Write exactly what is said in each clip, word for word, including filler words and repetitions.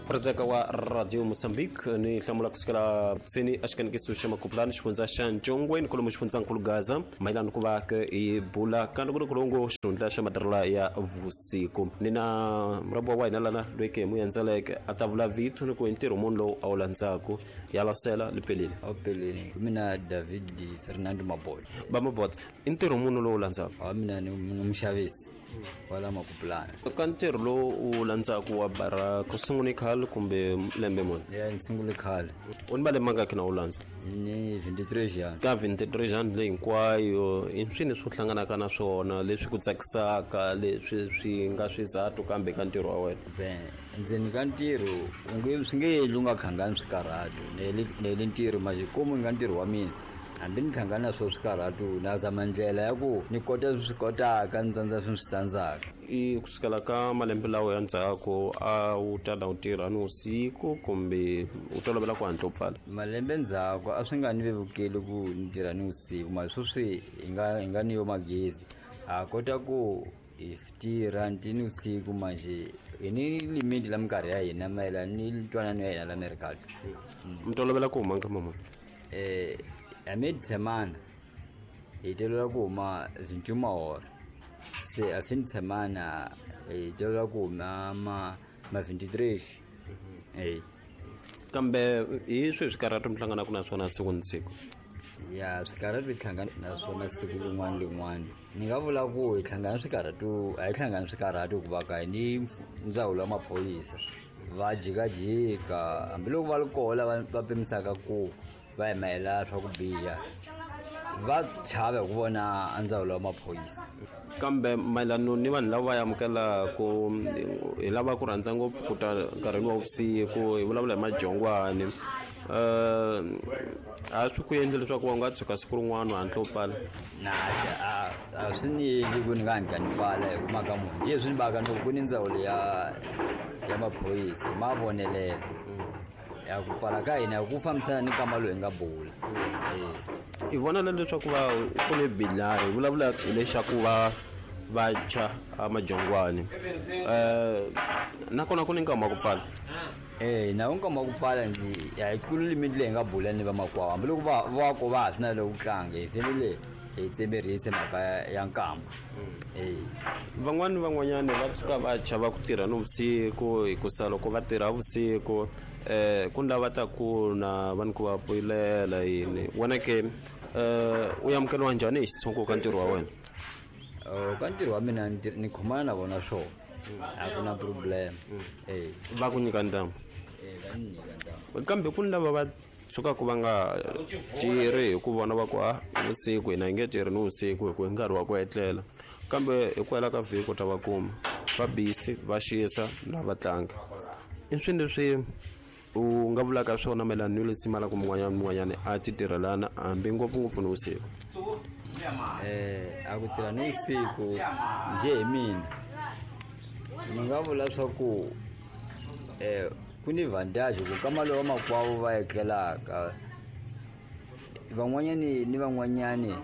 Redzeka wa Radio Mozambique ni hlamula kusukela tsini axikanikiso xa Makupulani xifundza xa Ntshongweni kolomo xifundzankulu Gaza mayelana ku va ke i bula ka nongonoko xihundla xa matirhelo ya vusiku ni na murabo wa hina lana loyi ke mu endzeleke a ta vula vito ni ku ntirho munhu lowu a wu landzaku ya lasela lipelile a pelile mina David Fernando Mabolo ba Mabolo i ntirho munhu lowu landzaku a mina ni muxavisi wala Makupulani ka ntirho lowu u landzaku wa bara ku sungule khale kumbe lembe muni ya ni sungule khale u ni malembe mangaki na u landza ni twenty-three jana ka twenty-three jana leyi hinkwayo i swini swo hlanganaka na swona leswi ku tsakisaka leswi swi nga swizathu kambe ka ntirho wa wena ben ndzeni ka ntirho u nge swi nge endli u nga khangani swikarhatu nele ntirho manje komu nga ntirho wa mina hambi ni hlangana swo swikarhatu na zama ndlela ya ku ni kota swi kotaka ni tsandza swi swi tsandzaka i kusukela ka malembe lawa ya ndzhaku a wu tala u tirha ni usiku kumbe u tolovela ku hatla u pfala malembe ndzhaku a swi nga ni vevukeli ku ni tirha ni usiku mara sweswi hi nga hi nga ni yo magezi ha kota ku hi tirha ni usiku manje hi ni limiti la minkarhi ya hina mayelana ni ntwanano ya hina la merikato mi tolovela ku huma nkama muni eh a semana hi tolovela ku huma vinte e uma hora se a fim de semana hi tolovela ku huma ma ma vinte e três eh kambe hi swihi swikarhatu mi hlanganaka na swona siku ni siku ya swikarhatu hi hlangana na swona siku rin'wana rin'wana ni nga vula ku hi hlangana swikarhatu a hi hlangani swikarhatu hikuva ka hi ni ndzawulo ya maphorisa va jikajika hambiloko va ri koho lava va pimisaka ku va hi mayelana swa ku biha va chava hi ku vona a ndzawulo wa maphorisa kambe mayelano ni vanhu lava va amukelaku hi lava ku rhandza ngopfu ku ta nkarhini wa vusiku hi vulavula hi majongwani um a swi ku endli leswaku wa nga tshuka siku rin'wana u hatla u pfala na a a swi ni endli ku ni nga hatla ni pfala hi ku mhaka munhu njhe swi ni baka ni ku ni ndzawulo ya ya maphorisa ma vonelela ya ku pfala ka hina ku fambisana ni nkama lowu hi nga bula i vona na leswaku va ku ni bilari hi vulavula hi lexaku va va tshwa a majongwani um nakona ku ni nkama wa ku pfala eh na nkama wa ku pfala ndzi a hi tluli limiti leyi hi nga bula ni vamakwavo hambiloko va va ko va ha swi na le ku tlanga hi fanele hi tsemerise mhaka ya nkama eh van'wani van'wanyani va tshuka va chava ku tirha nivusiku hikusa loko va tirha vusiku eh ku ni lava ta ku na va ni ku va poyilela yini wena ke eh u amukeliwa njhani hi xitshungu ka ntirho wa wena ka ntirho wa mina ni khomana na vona swona a ku na problem eh va ku nyika ntamu eh va ni nyika ntamu kambe ku ni lava va tshukaku va nga tirhi hi ku vona va ku a vusiku hina hi nge tirhi ni vusiku hi ku hi nkarhi wa ku etlela kambe hi ku hela ka vhiki u ta va kuma va busy va xisa na va tlanga i swilo leswi u nga vulaka swona mayelana ni leswi malaka mun'wanyana mun'wanyana a ti tirhelana hambi ngopfungopfu ni vusiku eh a ku tirha ni vusiku njhe hi mina ni nga vula swa ku eh ku ni vantage ku kama lowa makwavo va etlelaka van'wanyani ni van'wanyani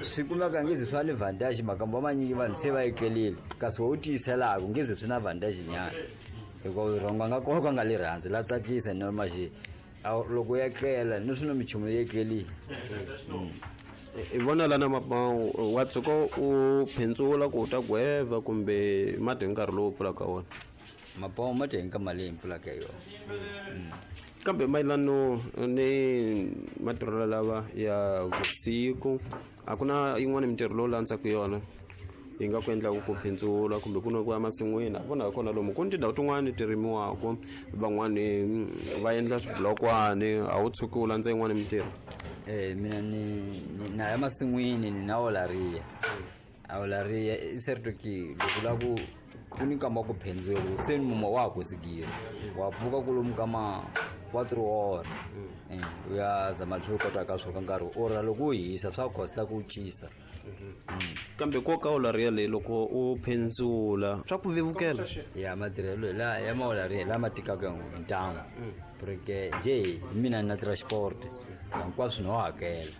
swi kumeka ngezi swa ni vantage makambo manyingi vanhu se va etlelile kasi wo tiyiselaka ngezi swi na vantage nyana hikuva rhongo nga kona ka nga le rhandzi la tsakisa normal loko ya tlela ni swi na minchumu yi etlelile i vona lana wa tshuka u phendzula ku u ta gweva kumbe mati hi nkarhi lowu pfulaka wona mapawu ma dya hi nkama leyi pfulaka yona kambe mayelano ni matirhelo lava ya vusiku a ku na yin'wana mintirho lowu landzaka yona yi nga ku endlaku ku phindzula kumbe ku na ku ya masin'wini a vona kona lomu ku ni tindhawu tin'wani ti rimiwaka van'wani va endla swibulokwani a wu tshuki u landza yin'wana mintirho eh mina ni na ya masin'wini ni na olaria a olaria i certo que loko la ku ku ni nkama wa ku phendzula se ni muma wa ha kosigile wa pfuka kolomu ka ma quatro hora u ya zama leswi u kotaka swo ka nkarhi ora loko u hisa swa costa ku cisa kambe nkoka olaria leyi loko u phendzula swa ku vevukela ya matirhelo la ya maolaria lama tikaka hi ntamu porque njhe hi mina ni na transport hinkwaswo no hakela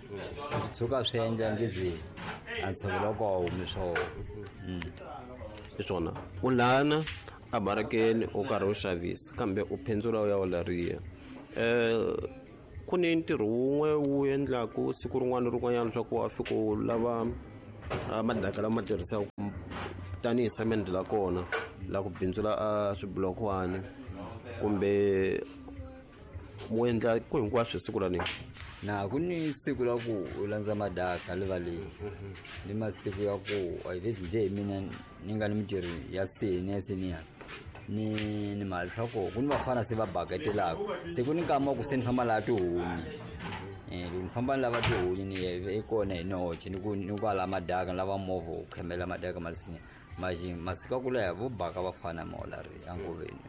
se swi tshuka swi endla ngezi a ntshovelo wa koho humi swona hi swona u lana a barakeni u karhi u xavisa kambe u phendzula u ya olariya um ku ni ntirho wun'we wu endlaku siku rin'wana na rin'wanyana leswaku wa fika u lava madaka lama tirhisaka tanihi semende la kona la ku bindzula a swibulokwani kumbe mu endla ku hinkwaswo siku ra nini? Na ku ni siku la ku u landza madaka rivaleni ni masiku ya ku a hi njhe hi mina ni nga ni mintirho ya seni ya seniya ni ni mali swa ku ku ni vafana se va baketelaka se ku ni nkama wa ku se ni famba laha tihunyi eh loko ni famba ni lava tihunyi ni i kona hi noche ni ku ni kwala madaka ni lava movha wu khemela madaka ma lisinya maxi masiku ya ku leha vo baka vafana maolari angoveni.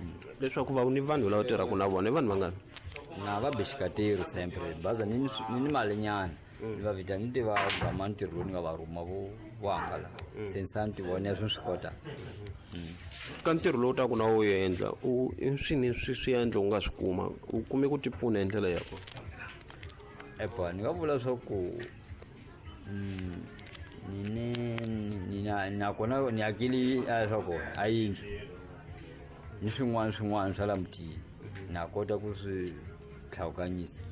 Leswaku va ni vanhu lava tirhaka na vona i vanhu vangani? Na va bixikateri sempre baza ni ni ni malinyana ni va vita ni tiva gama ntirho lowu ni nga va rhuma vo vo hangala se ni sa ni ti vona swi swi kota. Ka ntirho lowu taku na wu endla u i swini swi swi endla u nga swi kuma u kume ku ti pfuna hi ndlela ya kona? Epa ni nga vula swa ku ni ni ni na nakona ni akili a swa kona a yindlu ni swin'wana swin'wana swa la mutini na kota ku swi tlhawukanyisa.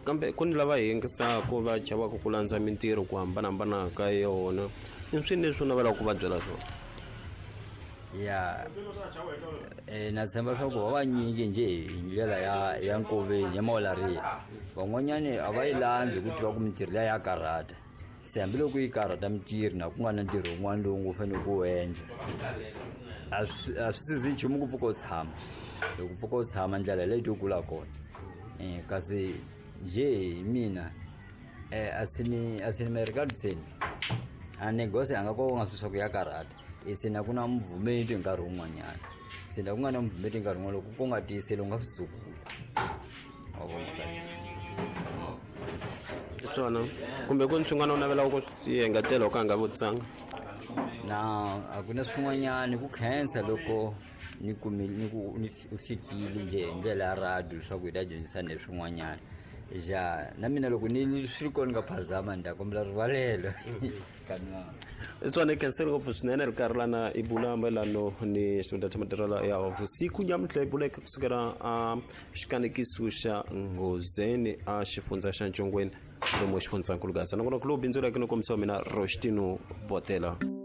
Kambe ku ni lava yingisaka va chavaka ku landza mintirho ku hambanahambana ka yona i swini leswi u navelaka ku va byela swona? Ya eh na tshemba swa ku va vanyingi njhe hi ndlela ya ya nkoveni ya maolariya van'wanyani a va yi landzi ku tiva ku mintirho liya ya karhata se hambiloko yi karhata mintirho na ku nga na ntirho wun'wana lowu ngo fanele ku wu endla a swi a swi sizi nchumu ku pfuka u tshama loko pfuka u tshama ndlela leyi to kula kona eh kasi njhe hi mina eh a sini a sini merikatseni a negose a nga ko nga swi swa ku ya karhata se na ku na muvhumeti nkarhi wun'wanyana se na ku nga na muvhumeti nkarhi wun'wana loko ku nga tiyiseli u nga swi tsukula wa vona swona kumbe ku ni swin'wana u navelaka ku swi engetela u ka nga vutisanga? Na a ku na swin'wanyana ku khensa loko ni kumile ni ku ni fikile njhe hi ndlela ya radio leswaku hi ta dyondzisana hi swin'wanyana ja na mina loko ni swi ri kona ni nga phazama ni ta kombela rivalelo Tswana khensile ngopfu swinene ri karhi lana i bula mayelano ni xitunda xa matirhelo ya vusiku nyamuntlha i buleke kusukela a xikanekiso xa Nghozeni a xifundza xa Ncongweni lomu xifundzankulu Gaza nakona ku lowu bindzuleke no kombisa wa mina Roshtino Botela.